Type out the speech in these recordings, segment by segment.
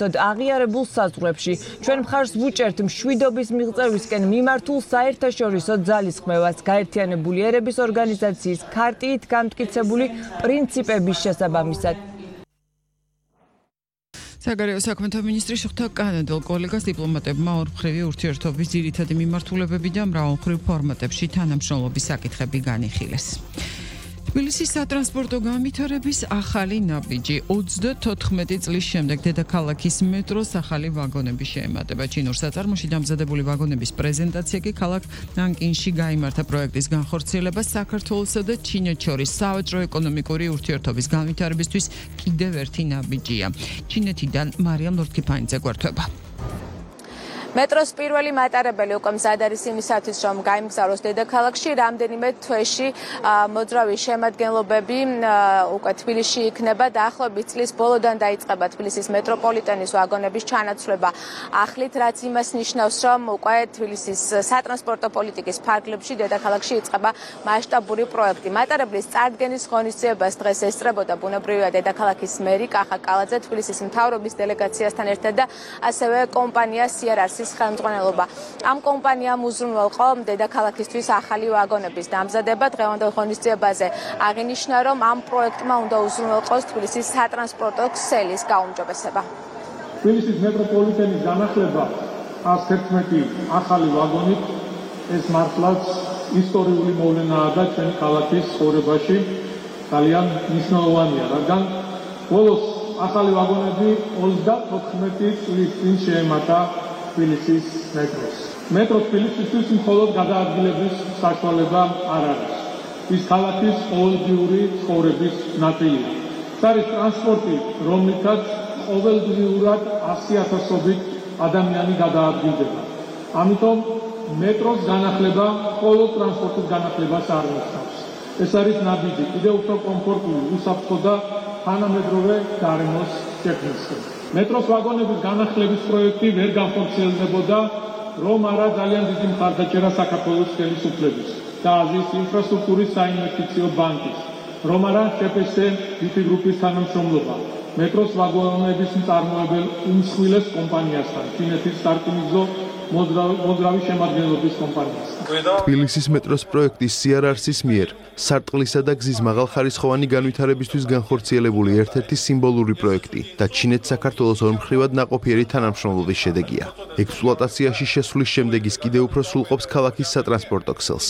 აღიარებულ საზღვრებში ჩვენ მხარს ვუჭერთ მშვიდობის მიღწევისკენ მიმართულ საერთაშორისო ძალისხმევას, გაერთიანებული ერების ორგანიზაციის ქარტიით გამტკიცებული პრინციპების შესაბამისად. საგარეო საქმეთა მინისტრი შეხვდა კანადელ კოლეგას დიპლომატებმა ორმხრივი ურთიერთობის ძირითადი მიმართულებები და მრავალმხრივ ფორმატებში თანამშრომლობის საკითხები განიხილეს. თბილისის სატრანსპორტო განვითარების ახალი ნაბიჯი 34 წლის შემდეგ დედაქალაქის მეტროს ახალი ვაგონები შეემატება. ჩინურ საწარმოში დამზადებული ვაგონების პრეზენტაცია კი ქალაქ ნანკინში გაიმართა. პროექტის განხორციელება საქართველოსა და ჩინეთს შორის სავაჭრო ეკონომიკური ურთიერთობის განვითარებისთვის კიდევ ერთი ნაბიჯია. ჩინეთიდან მარიამ ლორთქიფანიძე გვერდება. მეტროს პირველი მატარებელი უკვე მზად არის იმისათვის, რომ გაიმგზავროს დედაქალაქში. რამდენიმე თვეში მოძრავი შემადგენლობები უკვე თბილისში იქნება. დაახლოებით წლის ბოლოდან დაიწყება თბილისის მეტროპოლიტენის ვაგონების ჩანაცვლება ახლით, რაც იმას ნიშნავს, რომ უკვე თბილისის სატრანსპორტო პოლიტიკის ფარგლებში დედაქალაქში იწყება მასშტაბური პროექტი. მატარებლის წარდგენის ღონისძიებას დღეს ესწრებოდა ბუნებრივია დედაქალაქის მერი კახა კალაძე თბილისის მთავრობის დელეგაციასთან ერთად და ასევე კომპანია CRRC ხელმძღვანელობა. ამ კომპანიამ უზრუნველყო დედაქალაქისთვის ახალი ვაგონების დამზადება. დღევანდელ ღონისძიებაზე აღინიშნა, რომ ამ პროექტმა უნდა უზრუნველყოს თბილისის სატრანსპორტო ქსელის გაუმჯობესება. თბილისის მეტროპოლიტენის განახლება 111 ახალი ვაგონით ეს მართლაც ისტორიული მოვლენაა და ჩვენი ქალაქის ცხოვრებაში ძალიან მნიშვნელოვანია, რადგან ბოლოს ახალი ვაგონები 34 წლის წინ შეემატა თბილისის მეტროს. მეტრო თბილისისთვის მხოლოდ გადაადგილების საშუალება არ არის. ის ქალაქის ყოველდღიური ცხოვრების ნაწილია. ეს არის ტრანსპორტი, რომლითაც ყოველდღიურად 100,000-ობით ადამიანი გადაადგილდება. ამიტომ მეტროს განახლება მხოლოდ ტრანსპორტის განახლებას არ ნიშნავს. ეს არის ნაბიჯი კიდევ უფრო კომფორტული, უსაფრთხო და თანამედროვე გარემოს შექმნისკენ. მეტროს ვაგონების განახლების პროექტი ვერ განხორციელდებოდა, რომ არა ძალიან დიდი მხარდაჭერა საქართველოს ხელისუფლების და აზიის ინფრასტრუქტურის საინვესტიციო ბანკის, რომ არა შეფსს ვიფი გრუპის თანამშრომლობა მეტროს ვაგონების მწარმოებელ უმსხვილეს კომპანიასთან, ჩინეთის სარკინიგზო მოძრავი შემადგენლობის კომპანიასთან. თბილისის მეტროს პროექტის CRRC-ის მიერ სარტყლისა და გზის მაღალხარისხოვანი განვითარებისთვის განხორციელებული ერთ-ერთი სიმბოლური პროექტი და ჩინეთს საქართველოს ორმხრივად ნაყოფიერი თანამშრომლობის შედეგია. ექსპლუატაციაში შესვლის შემდეგ ის კიდევ უფრო სრულყოფს ქალაქის სატრანსპორტო ქსელს.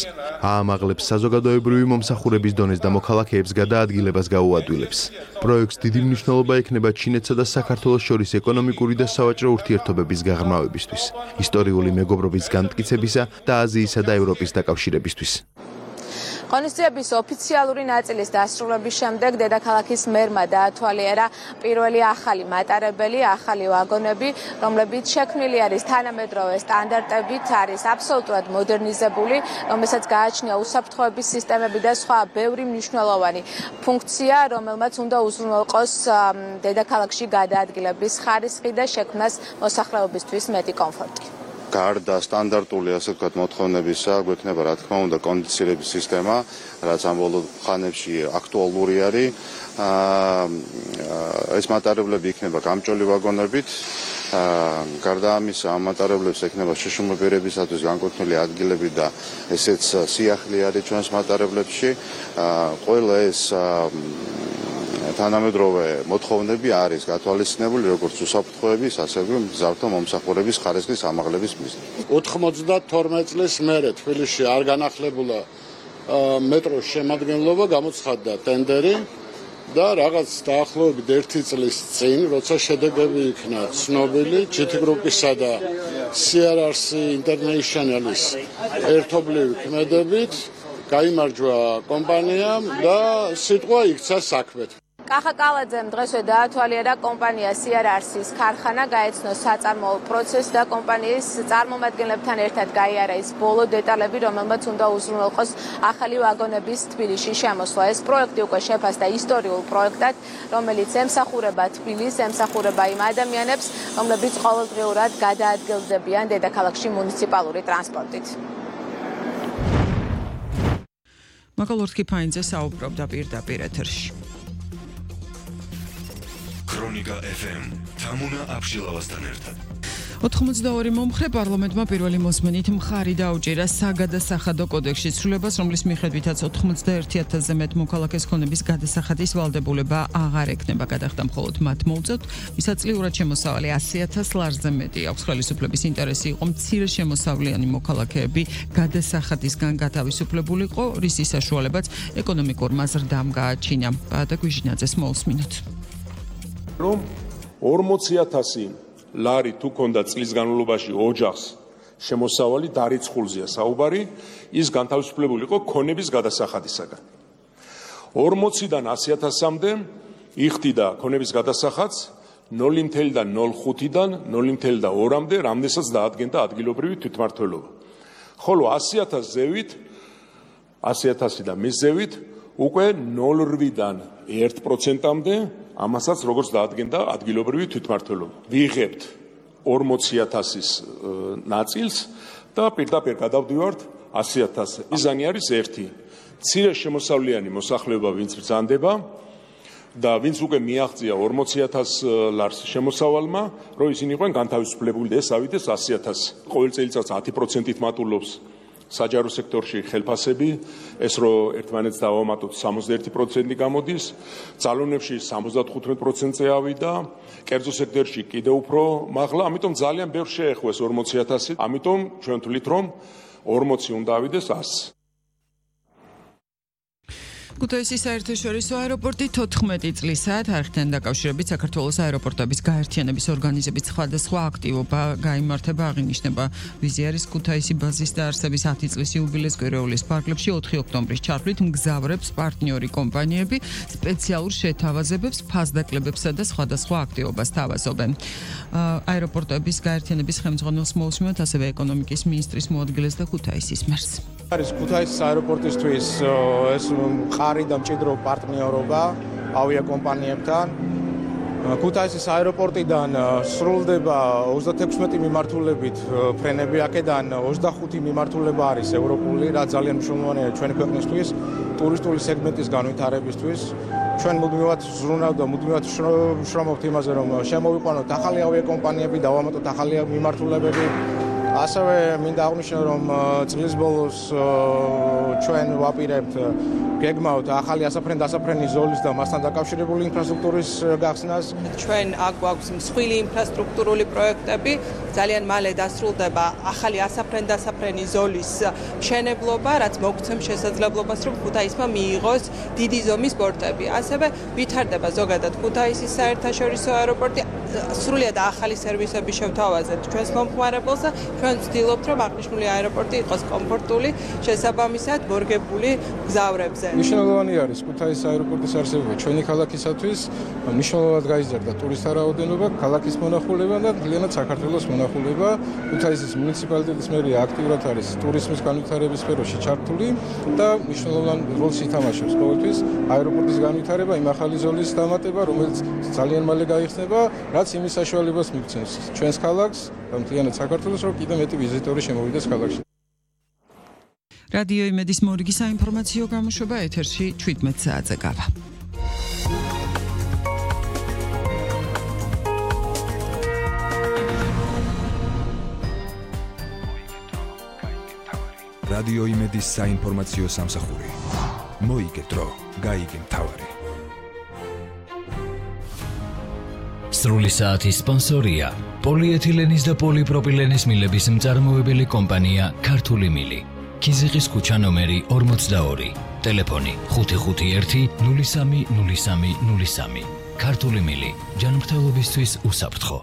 აამაღლებს საზოგადოებრივი მომსახურების დონეს და მოქალაქეებს გადაადგილებას გაუადვილებს. პროექტს დიდი მნიშვნელობა ექნება ჩინეთსა და საქართველოს შორის ეკონომიკური და სავაჭრო ურთიერთობების გაღრმავებისთვის, ისტორიული მეგობრობის განმტკიცებისა და აზიისა და ევროპის დაკავშირებისთვის. ღონისძიების ოფიციალური ნაწილის დასრულების შემდეგ დედაქალაქის მერმა დაათვალიერა პირველი ახალი მატარებელი, ახალი ვაგონები, რომლებიც შექმნილი არის თანამედროვე სტანდარტებით, არის აბსოლუტურად მოდერნიზებული, რომელსაც გააჩნია უსაფრთხოების სისტემები და სხვა ბევრი მნიშვნელოვანი ფუნქცია, რომელმაც უნდა უზრუნველყოს დედაქალაქში გადაადგილების ხარისხი და შექმნას მოსახლეობისთვის მეტი კომფორტი. გარდა სტანდარტული ასე ვთქვათ მოთხოვნებისა, გვექნება რა თქმა უნდა კონდიცირების სისტემა, რაც ამ ბოლო ხანებში აქტუალური არის. ეს მატარებლები იქნება გამჭოლი ვაგონებით. გარდა ამისა, ამ მატარებლებს ექნება შეშუმებერებისათვის განკუთვნილი ადგილები და ესეც სიახლე არის ჩვენს მატარებლებში. ყველა ეს თანამედროვე მოთხოვნები არის გათვალისწინებული როგორც უსაფრთხოების, ასევე მგზავრთა მომსახურების ხარისხის ამაღლების მიზნით. 92 წლის მერე თბილისში არ განახლებულა მეტროს შემადგენლობა, გამოცხადდა ტენდერი და რაღაც დაახლოებით 1 წლის წინ, როცა შედეგები იქნა ცნობილი, GT Group-ისა და CRRC International-ის ერთობლივი ქმედებით, გაიმარჯვა კომპანიამ და სიტყვა იქცა საქმეთ. კახა კალაძემ დღესვე დაათვალიერა კომპანია CRRC-ის ქარხანა, გაეცნო საწარმოო პროცესი და კომპანიის წარმომადგენლებთან ერთად გაიარა ის ბოლო დეტალები, რომელმაც უნდა უზრუნველყოს ახალი ვაგონების თბილისში შემოსვლა. ეს პროექტი უკვე შეფასდა ისტორიულ პროექტად, რომელიც ემსახურება თბილისს, ემსახურება იმ ადამიანებს, რომლებიც ყოველდღიურად გადაადგილდებიან დედაქალაქში მუნიციპალური ტრანსპორტით. მაგალ ლორთქიფანიძე საუბრობდა პირდაპირ ეთერში. Electronica FM. Tamuna Abshilavastan ertad. 82 მომხრე პარლამენტმა პირველი მოსმენით მხარი დაუჭირა საგადასახადო კოდექსში ცვლილებას, რომლის მიხედვითაც 91000-ზე მეტ მოქალაქეს ქონების გადასახადის ვალდებულება აღარ ექნება. გადახდა მხოლოდ მათ მოუწევთ, მისაწლიურად შემოსავალი 100000 ლარზე მეტი აქვს. ხელისუფლების ინტერესი იყო მცირე შემოსავლიანი მოქალაქეები გადასახადისგან გათავისუფლებულიყო, რისი საშუალებაც ეკონომიკურმა ზრდამ გააჩინა. და გვიჟინაძეს მოусმინოთ. რომ 40000 ლარი თუ ქონდა წლის განმავლობაში ოჯახს შემოსავალი დარიცხულზეა საუბარი, ის განთავისუფლებული იყო ქონების გადასახადისაგან. 40-დან 100000-მდე იხდიდა ქონების გადასახადს 0.05-დან 0.2-მდე, რამდენსაც დაადგენდა ადგილობრივი თვითმმართველობა. ხოლო 100000 ზევით, 100000-დან მის ზევით უკვე 0.8-დან 1%-მდე, ამასაც როგორც დაადგენდა ადგილობრივი თვითმმართველობა. ვიღებთ 40000-ის ნაწილს და პირდაპირ გადავდივართ 100000-ზე. მიზანი არის ერთი: მცირე შემოსავლიანი მოსახლეობა, ვინც ბრძანდება და ვინც უკვე მიაღწია 40000 ლარს შემოსავალმა, რომ ისინი იყვნენ განთავისუფლებული და ეს ავიდეს 100000. ყოველ წელიწადს 10%-ით მატულობს საჯარო სექტორში ხელფასები, ეს რომ ერთმანეთს დავამატოთ 61% გამოდის, ძალონებში 75%-ზე ავიდა, კერძო სექტორში კიდევ უფრო მაღლა, ამიტომ ძალიან ბევრ შეეხوეს 40000, ამიტომ ჩვენ ვთვლით რომ 40 უნდა ავიდეს 100. ქუთაისის საერთაშორისო აეროპორტი 14 წლისაა თარიღთან დაკავშირებით საქართველოს აეროპორტების გაერთიანების ორგანიზების სხვადასხვა აქტივობა გაიმართება, აღინიშნება ვიზიარის ქუთაისი ბაზის დაარსების 10 წლის იუბილეს კვირეულის ფარგლებში 4 ოქტომბრის ჩართვლით მგზავრებს პარტნიორი კომპანიები სპეციალურ შეთავაზებებს, ფასდაკლებებსა და სხვადასხვა აქტივობას თავაზობენ. აეროპორტების გაერთიანების ხელმძღვანელს მოусმინოთ, ასევე ეკონომიკის მინისტრის მოადგილეს და ქუთაისის მერს. არის ქუთაისის აეროპორტისთვის ეს მყარი და მჭიდრო პარტნიორობა ავიაკომპანიებთან. ქუთაისის აეროპორტიდან სრულდება 36 მიმართულებით ფრენები, აქედან 25 მიმართულება არის ევროპული, რაც ძალიან მნიშვნელოვანია ჩვენი ქვეყნისთვის, ტურისტული სეგმენტის განვითარებისთვის. ჩვენ მუდმივად ზრუნავთ და მუდმივად შრომობთ იმაზე, რომ შემოვიყვანოთ ახალი ავიაკომპანიები, დავამატოთ ახალი მიმართულებები. ასევე მინდა აღვნიშნო, რომ წლის ბოლოს ჩვენ ვაპირებთ გეგმავთ ახალი ასაფრენ-დასაფრენი ზოლის და მასთან დაკავშირებული ინფრასტრუქტურის გახსნას. ჩვენ აქ გვაქვს მსხვილი ინფრასტრუქტურული პროექტები, ძალიან მალე დასრულდება ახალი ასაფრენ-დასაფრენი ზოლის მშენებლობა, რაც მოგცემს შესაძლებლობას, რომ ქუთაისმა მიიღოს დიდი ზომის პორტები. ასევე ვითარდება ზოგადად ქუთაისის საერთაშორისო აეროპორტი, სრულიად ახალი სერვისები შევთავაზებთ ჩვენს მომხმარებელს და ჩვენ ვცდილობთ, რომ აღნიშნული აეროპორტი იყოს კომფორტული, შესაბამისად მორგებული მგზავრებზე. მნიშვნელოვანი არის ქუთაისის აეროპორტის არსებობა ჩვენი ქალაქისათვის, მნიშვნელოვნად გაიზარდა ტურისტთა რაოდენობა, ქალაქის მონახულება და მთლიანად საქართველოს მონახულება. ქუთაისის მუნიციპალიტეტის მერია აქტიურად არის ტურიზმის განვითარების სფეროში ჩართული და მნიშვნელოვან როლს ითამაშებს ყოველთვის აეროპორტის განვითარება, იმ ახალი ზოლის დამატება, რომელიც ძალიან მალე გაიხსნება, რაც იმის საშუალებას მიგცემს ჩვენს ქალაქს და მთლიანად საქართველოს, რომ კიდევ მეტი ვიზიტორი შემოვიდეს ქალაქში. რადიო იმედის მორიგი საინფორმაციო გამოშვება ეთერში 17 საათზე გავა. რადიო იმედის საინფორმაციო სამსახური. მოიგე დრო, გაიგე მთავარი. სრული საათის სპონსორია პოლიეთილენის და პოლიპროპილენის მილების მწარმოებელი კომპანია ქართული მილი. ქიზიყის ქუჩა ნომერი 42, ტელეფონი 551-030303. ქართული მილი, ჯანმრთელობისთვის უსაფრთხო.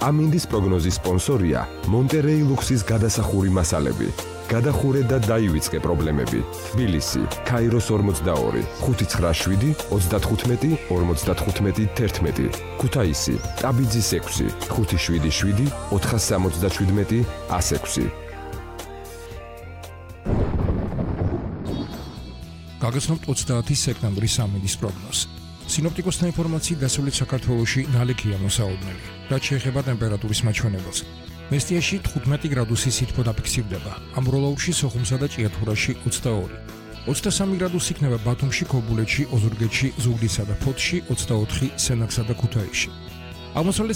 ამინდის პროგნოზის სპონსორია მონტერეი ლუქსის გადასახური მასალები. გადახურე და დაივიწყე პრობლემები. თბილისი, ქაიროს 42, 597 35 55 11. ქუთაისი, ტაბიძის 6, 577 477 106. გაგაცნობთ 30 სექტემბრის ამინდის პროგნოზს. სინოპტიკოსთა ინფორმაციით დასავლეთ საქართველოში ნალექია მოსაუბნელი, რაც შეეხება ტემპერატურის მაჩვენებელს. მესტიაში 15 გრადუსი სითბო დაფიქსირდება, ამბროლაურში, სოხუმსა და ჭიათურაში 22. 23 გრადუსი იქნება ბათუმში, ქობულეთში, ოზურგეთში, ზუგდიდსა და ფოთში, 24 სენაკსა და ქუთაისში. აღმოსავლეთ